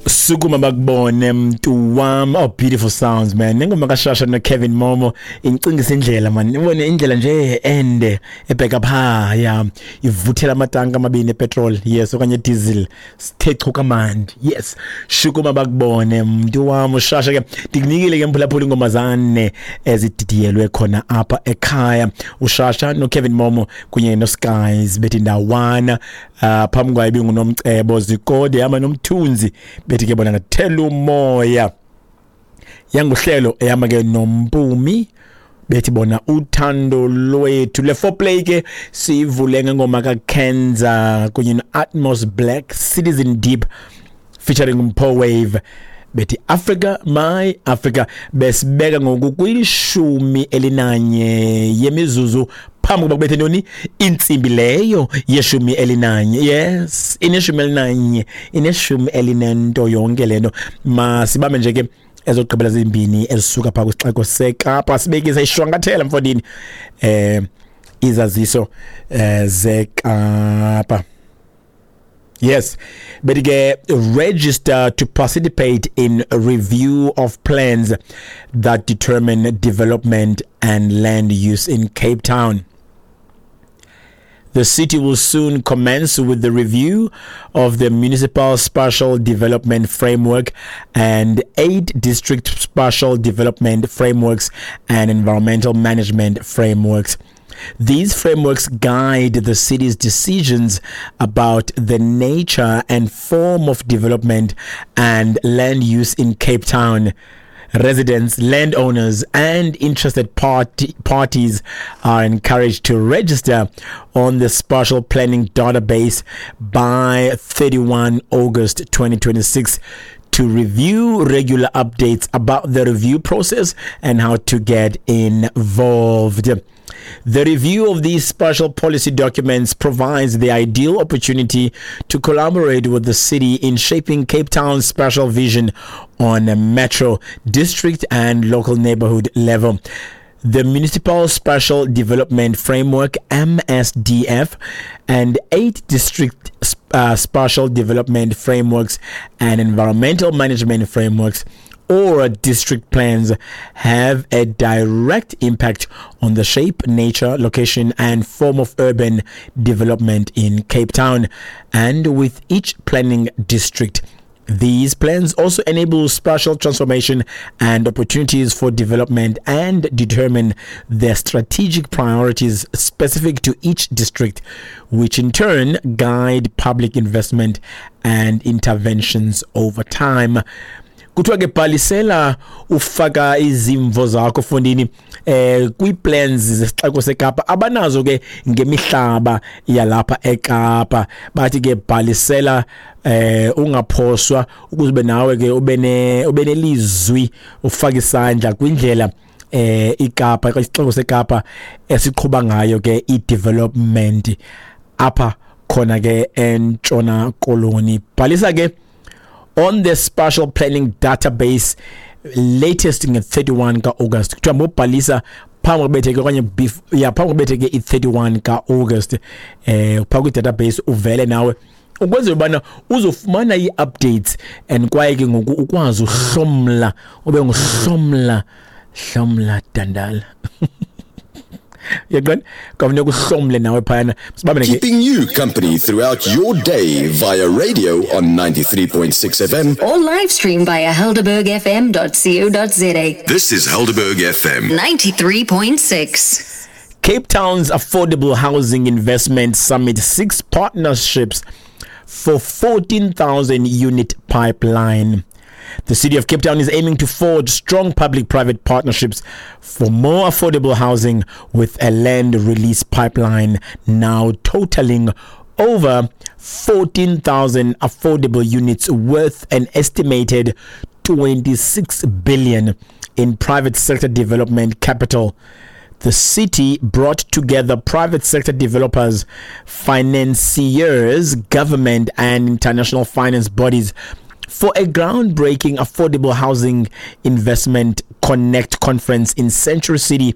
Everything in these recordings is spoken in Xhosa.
Sukuma bakubone mntu wam. Oh, beautiful sounds, man. Nengoma kaShasha noKevin Momo incingisa indlela, man. Ubone indlela nje ende ebheka pha ya ivuthela amatanka amabini epetrol, yes, okanye diesel, sithe chu kamandi. Yes, shukuma bakubone mntu wam uShasha. Ke ndikunikile ke, mphulaphula, ingoma zane ezididiyelwe khona apha ekhaya, uShasha noKevin Momo kunye noSkies bethi ndawana. Phambi kwayo ibinguNomcebo Zikode hamba noMthunzi bethi ke bona ngathela umoya yanguhlelo ehamba ke noMpumi bethi bona uthando lwethu. Le foreplay ke sivule ngengoma kaKenza kunye no-Atmos Black, Citizen Deep featuring Mpo Wave, bethi Africa My Africa. Besibeka ngoku kwi-11 yemizuzu phambi kokuba kubethe ntoni, intsimbi leyo ye-11. Yes, ine-11, ineshumi elinento yonke lento. Masibambe nje ke ezokugqibela zimbini ezisuka phaa kwisixeko seKapa, sibekisa ishwankathela mfondini izaziso zeKapa. Yes, but ke register to participate in a review of plans that determine development and land use in Cape Town. The city will soon commence with the review of the Municipal Spatial Development Framework and eight district spatial development frameworks and environmental management frameworks. These frameworks guide the city's decisions about the nature and form of development and land use in Cape Town. Residents, landowners, and interested parties are encouraged to register on the spatial planning database by 31 August 2026 to review regular updates about the review process and how to get involved. The review of these spatial policy documents provides the ideal opportunity to collaborate with the city in shaping Cape Town's spatial vision on a metro, district, and local neighborhood level. The Municipal Spatial Development Framework, MSDF, and eight district spatial development frameworks and environmental management frameworks or district plans have a direct impact on the shape, nature, location, and form of urban development in Cape Town and with each planning district. These plans also enable spatial transformation and opportunities for development and determine the strategic priorities specific to each district, which in turn guide public investment and interventions over time. Kuthiwa ke bhalisela ufaka izimvo zakho fondini kwii-plans zesixeko seKapa abanazo ke ngemihlaba yalapha eKapa. Bathi ke bhalisela ungaphoswa ukuze ube nawe ke ube nelizwi, ufake isandla kwindlela iKapa, isixeko seKapa esiqhuba ngayo ke i-development apha khona ke eNtshona Koloni. Bhalisa ke on the spatial planning database latest nge-31 ka-August. Kuthiwa mobhalisa phambi kubetheke okanye ya, phambi kubetheke i-31 ka-August phaa kwi-database uvele nawe ukwenzela ubana uzofumana ii-updates and kwaye ke ngoku ukwazi uhlomla, ube nguhlomla hlomla dandala, uyaqonda, kwafuneka uhlomle nawe phayana. Sibambe ke. Keeping you company throughout your day via radio on 93.6 FM. Or live stream via helderbergfm.co.za. This is Helderberg FM. 93.6. Cape Town's Affordable Housing Investment Summit seeks partnerships for 14,000 unit pipeline. The city of Cape Town is aiming to forge strong public private partnerships for more affordable housing with a land release pipeline now totaling over 14,000 affordable units worth an estimated 26 billion in private sector development capital. The city brought together private sector developers, financiers, government, and international finance bodies for a groundbreaking Affordable Housing Investment Connect conference in Century City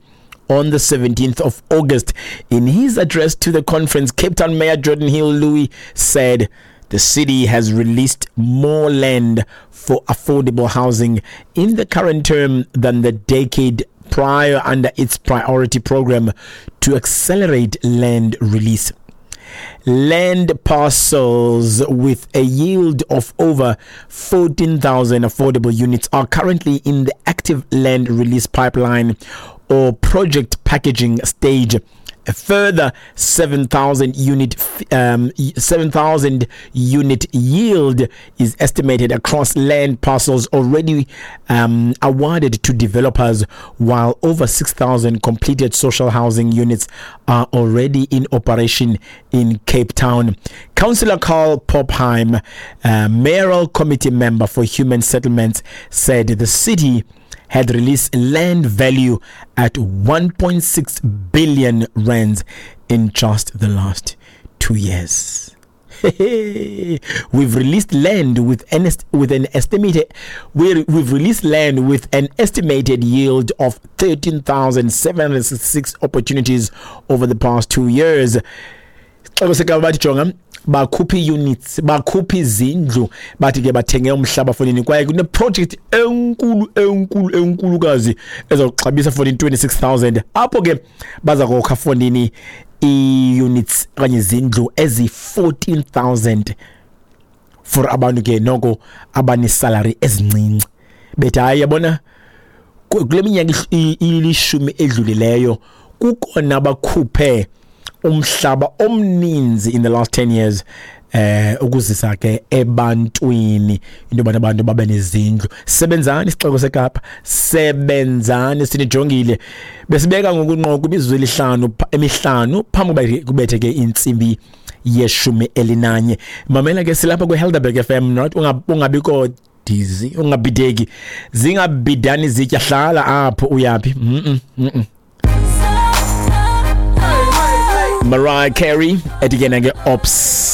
on the 17th of August. In his address to the conference, Cape Town Mayor Geordin Hill Lewis said, The city has released more land for affordable housing in the current term than the decade prior under its priority program to accelerate land release. Land parcels with a yield of over 14,000 affordable units are currently in the active land release pipeline or project packaging stage. A further 7,000 unit yield is estimated across land parcels already awarded to developers, while over 6,000 completed social housing units are already in operation in Cape Town. Councillor Carl Pophaim, mayoral committee member for human settlements, said the city had released land value at 1.6 billion rands in just the last 2 years. We've released land with an estimated yield of 13,766 opportunities over the past 2 years. Xeko seKapa bathi jonga, bakhupha ii-units, bakhupha izindlu, bathi ke bathenge umhlaba fonini, kwaye kuneprojekthi enkulu enkulu enkulukazi ezawuxabisa fonini 26,000, apho ke baza kokha fonini ii-units okanye izindlu ezi-14,000 for abantu ke noko abanesalary ezincinci. Bethi hayi, yabona, kule minyaka ilishumi edlulileyo kukona bakhuphe umhlaba omninzi in the last 10 years ukuzisa ke ebantwini into yobana abantu babe nezindlu. Sebenzani, isixeko seKapa, sebenzani, sinijongile. Besibeka ngokunqo kwimizuzu elihlanu emihlanu phambi kuba kubethe ke intsimbi ye-11. Mamela ke, silapha kwi-Helderberg FM, not ungabikho dizzy, ungabhideki, zingabhidani zitya, hlala apho uyaphi. Mariah Carey ethi ke na ke Ops.